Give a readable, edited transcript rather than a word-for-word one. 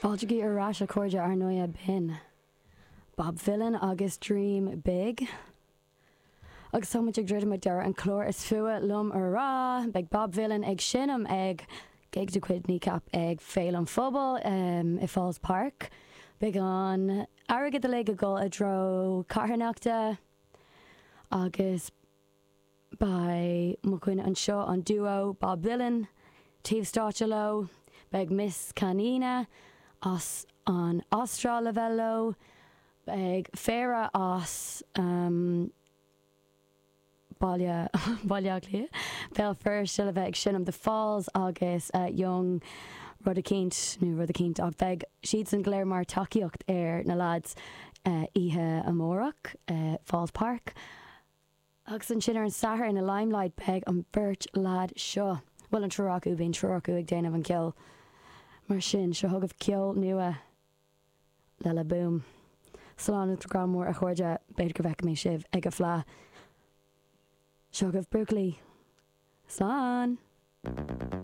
Fáiltigí ar ais a chairde ar ndóighe b'in Bob Vylan agus Dream Big. Agus tá muid ag druidim ag deireadh an chláir is fuath liom a rá, beidh Bob Vylan ag seinm ag gig de chuid Kneecap ag Féile an Phobail i Falls Park. Beidh an airgead uilig ag dul i dtreo carthanachta agus Beidh mo dhuine anseo, an duo Bob Vylan, taobh stáitse leo. Beidh Miss Canina as an Astráil le bheith leo. Beidh Féara as Baile Baile Átha Cliath, Béal Feirste le bheith ag seinm The Falls agus Young rud eicínt nó rud eicínt ach beidh siadsan go léir mar tacaíocht ar na lads oíche amárach, Falls Park. Agus ansin ar an Satharn i Limelight beidh an bheirt leaid seo, bhuel an triúr acu, bíonn triúr acu ag déanamh an ceoil. Mar sin, seo chugaibh ceol nua le La Boom. Slán agus grá mór a chairde, b'fhéidir go bhfeicfidh mé sibh ag an bhFleadh. Seo chugaibh Buachaillí. Slán!